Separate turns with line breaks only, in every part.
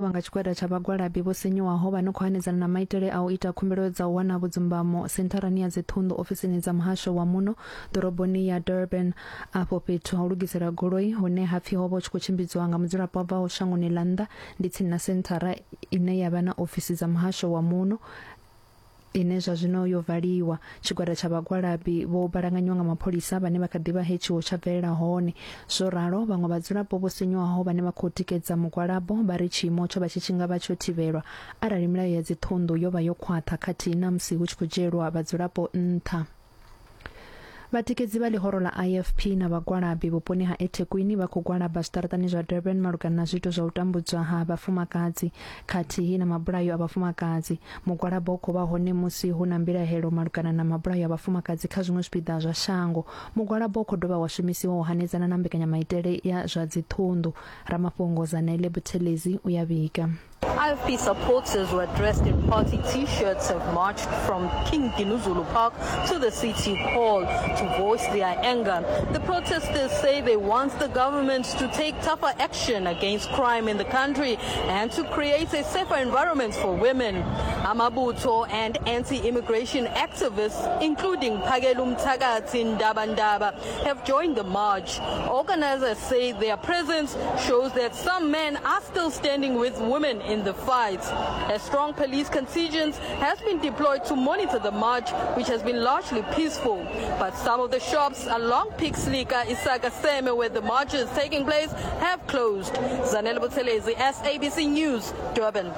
Vha nga tshigwada tsha vhagwalabi vho sinyuwaho vha no khou hanedzana na maitele a u ita khumbelo dza u wana vhudzumbamo sentharani ya dziṱhunḓu ofisini dza muhasho wa muno ḓoroboni ya Durban. Afho fhethu ha u lugisela goloi hune ha pfi ho vha hu tshi khou tshimbidzwa nga mudzulapo a bvaho shangoni ḽa nnḓa ndi tsini na senthara ine ya vha na ofisi dza muhasho wa muno ine zwa zwino yo valiwa. Tshigwada tsha vhagwalabi vho balanganyiwa nga mapholisa vhane vha kha ḓi vha he tshiwo tsha bvelela hone. Zwo ralo, vhaṅwe vhadzulapo vho sinyuwaho vhane vha khou tikedza mugwalabo vha ri tshiimo tsho vha tshi tshi nga vha tsho thivhelwa arali milayo ya dziṱhunḓu yo vha yo khwaṱha khathihi na musi hu tshi khou dzhielwa vhadzulapo nṱha. Vhatikedzi vha ḽihoro ḽa IFP na vhagwalabi vhuponi ha eThekwini vha khou gwalaba zwiṱaraṱani zwa Durban malugana na zwiito zwa u tambudzwa ha vhafumakadzi khathihi na mabulayo a vhafumakadzi. Mugwalabo u khou vha hone musi hu na mbilahelo malugana na mabulayo a vhafumakadzi kha zwiṅwe zwipiḓa zwa shango. Mugwalabo u khou dovha wa shumisiwa u hanedzana na mbekanyamaitele ya zwa dziṱhunḓu. Ramafhungo Zanele Buthelezi u ya vhiga.
IFP supporters were dressed in party t-shirts have marched from King Dinuzulu Park to the city hall to voice their anger. The protesters say they want the government to take tougher action against crime in the country and to create a safer environment for women. Amabuto and anti-immigration activists, including Phakelum Thakathi Ndabandaba, have joined the march. Organizers say their presence shows that some men are still standing with women in the fight. A strong police contingent has been deployed to monitor the march, which has been largely peaceful. But some of the shops along Pixley ka Isaka Seme, where the march is taking place, have closed. Zanele Buthelezi, SABC News, Durban.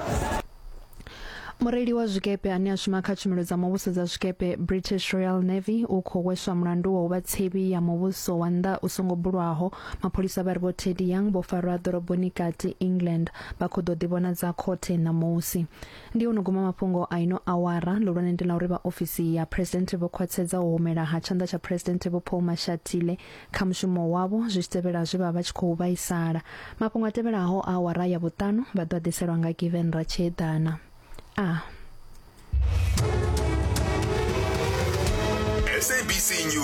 Mureili wa zwikepe ane a shuma kha tshumelo dza muvhuso dza zwikepe British Royal Navy u khou hweswa mulandu wa u vha tsevhi ya muvhuso wa nnḓa u songo bulwaho. Mapholisa vha ri Vho Teddy Young vho farwa ḓoroboni kati England vha khou ḓo ḓivhonadza khothe ṋamusi. Ndi ho no guma mafhungo a ino awara. Ḽihulwane ndi ḽa uri vha ofisi ya Phresidennde vho khwaṱhisedza u humela ha tshanḓa tsha Phresidennde Vho Paul Mashatile kha mushumo wavho zwi tshi tevhela zwe vha vha tshi khou vhaisala. Mafhungo a tevhelaho a awara ya vhuṱanu vha ḓo a ḓiselwa nga Given Ratshiedana. A.
SABC News.